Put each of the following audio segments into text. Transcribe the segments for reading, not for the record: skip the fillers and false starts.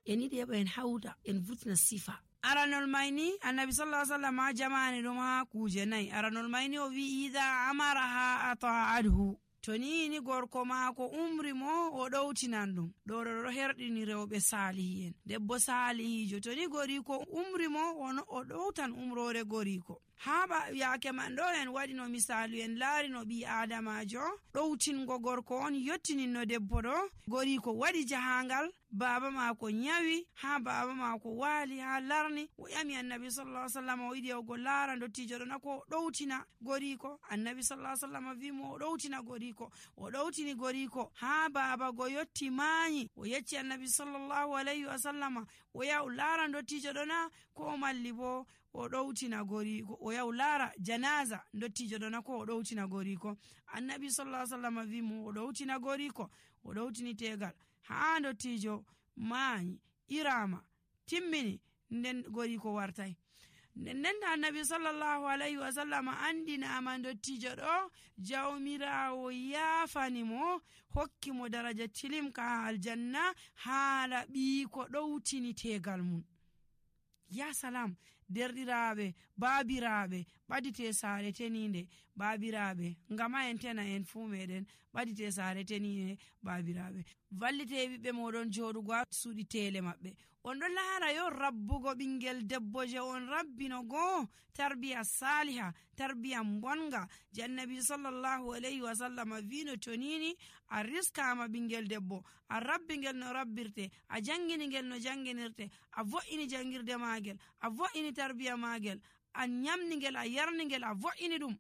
en yiɗi heɓa en hawta en vurtina sifa. aranol mayni annabi sallallahu alaihi wasallam ha jamani ɗum ha kuje nayi. aranol mayni o wi idha amaraha ata'adhu, to ni gorko maako umri mo o ɗowtinan ɗum. ɗo herɗini rewɓe salihi en. debbo salihijo to ni goriko umri mo o ɗowtan umrore goriko. ha yaake man ɗo en waɗino misalu en laari no ɓi adamajo ɗowtingo gorko on yottininno debbo ɗo. goriko waɗi jahangal, baba maako nyawi, ha baba maako waali ha larni. o ƴami annabi sallallahu alaihi wasallam o yiɗi yawgo laara dottijo ɗo nako o ɗowtina goriko. annabi sallallahu alaihi wasallam wi mo o ɗowtina goriko. o ɗowtini goriko ha baba go yotti maanyi. o yecci annabi sallallahu alaihi wasallam o yaw laara dottijo ɗo na, ko malli bo o ɗowtina goriko. o yaw laara janaza dottijo ɗo na, ko o ɗowtina goriko. annabi sallallahu alaihi wasallam wi mo o ɗowtina goriko. o ɗowtini tegal ha dottijo maanyi irama timmini. nden goriko wartai. nden annabi sallallahu alaihi wasallam andinama dottijo ɗo jawmirawo yaafani mo, hokki mo daraja tilimka ha aljanna haala ɓiiko ɗowtini tegal mum. ya salam derɗiraɓe, babiraɓe, ɓadite saare teninde babiraɓe, ngama en tena en fuu meɗen ɓadite saare teninde babiraɓe. vallite ɓiɓɓe moɗon joɗugo ha suuɗi tele maɓɓe. on ɗo laara yo rabbugo ɓingel debbo je on rabbino goo tarbiya saliha, tarbiya bonga. je annabi sallallahu alaihi wasallam vino to nini a riskama ɓingel debbo, a rabbingel no rabbirte, a janginigel no janginirte, a vo'ini jangirde magel, a vo'ini tarbiya magel, a nyamnigel, a yarnigel, a vo'ini ɗum.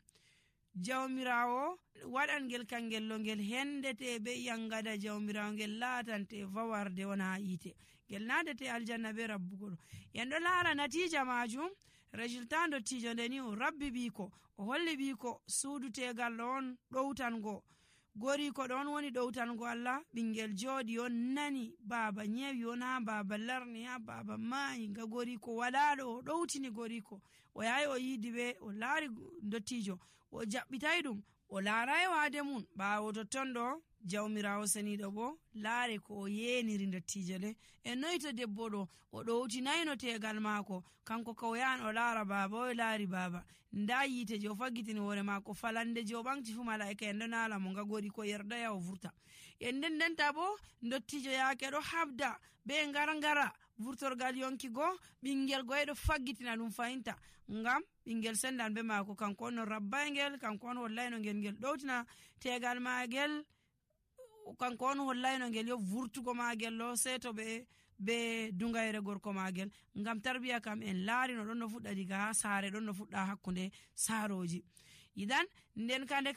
jawmirawo waɗangel kangel lo ngel hendete be yangada jawmirawo ngel laatante vawarde wona yite, ngel nadete aljanna be rabbugo ɗo. en ɗo laara natija majum. résultat dottijo ndeni o rabbi ɓiiko, o holli ɓiiko suudu tegal ɗo on ɗowtango. goriko ɗon woni ɗowtango Allah. ɓingel jooɗi on nani baba nyewi on ha baba larni, ha baba maayi, nga goriko walaɗo o ɗowtini goriko. o yahi o yiidi ɓe, o laari dottijo, o jaɓɓitay ɗum, o laaray waade mum. ɓaawo totton ɗo jawmirawo seniɗo bo laare ko o yeniri dottijo le. e noyi to debbo ɗo o ɗowtinayno tegal maako, kanko ka o yahan o laara baba, o laari baba, nda yite je o faggitini hoore maako, falande je o ɓamti fu malaika en ɗo naala mo, nga gori ko yerdaya o vurta. en ndenta bo dottijo yaake ɗo habda be ngara vurtorgal yonkigo, ɓingel goye ɗo faggitina ɗum fahinta, ngam ɓingel sendan be maako, kanko on no rabbayngel, kanko on hollayno ngel ɗowtina tegal magel, kanko on hollayno ngel yo vurtugo magel lo seto be dungayre gorko magel. ngam tarbiya kam en laari no ɗon no fuɗɗa diga ha saare, ɗon no fuɗɗa hakkunde saaroji. idan nden kande